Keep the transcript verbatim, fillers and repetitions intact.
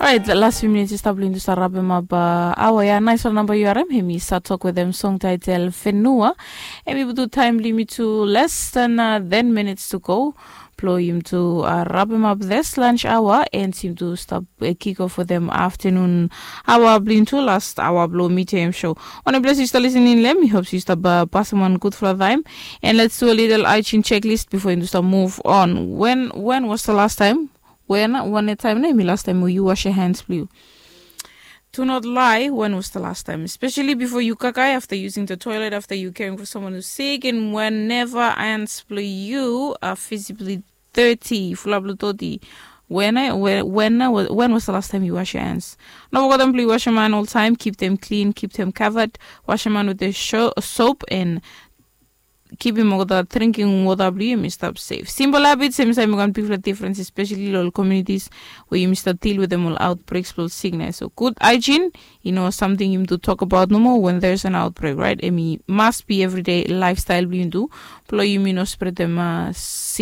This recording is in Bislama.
Orait, las fiu minits i stap long yumi tu stap rapem ap aoa ya. Naisfala namba yu harim, em i stap tok wetem song taitel Fenua. Em i putum taem blong yumi tu less than uh, ten minutes to go. Blong yumi tu uh, rapem ap this lunch hour and yumi tu stap uh, kick off wetem afternoon aoa blong yumi tu, last aoa blong Meet Your M show. Wanem ples yu stap listening long hem, mi hop se yu stap uh, pasem wan gudfala taem. And let's do a little hygiene checklist before yumi tu stap move on. When when was the last time? When, wanem taem nao em i last taem we yu wash your hands blong yu? Do not lie, when was the last time? Especially before you kakai, after using the toilet, after you caring for someone who's sick, and whenever hands blong yu are visibly dirty, fulap long doti. When, I, when, when, I, when was the last time you wash your hands? No forget blong yu wash your hand all time, keep them clean, keep them covered, wash your hand with the sho- soap and kipim olgeta drinking water blong yu yumi stap safe. Simple habits em i save mekem wan bigfala difference, especially long ol communities where yumi stap deal wetem ol outbreaks blong ol sickness. So good hygiene, you know, something yumi tu talk about no more when there's an outbreak, right? Em i must be everyday lifestyle blong yumi tu, blong yumi no spreadem uh,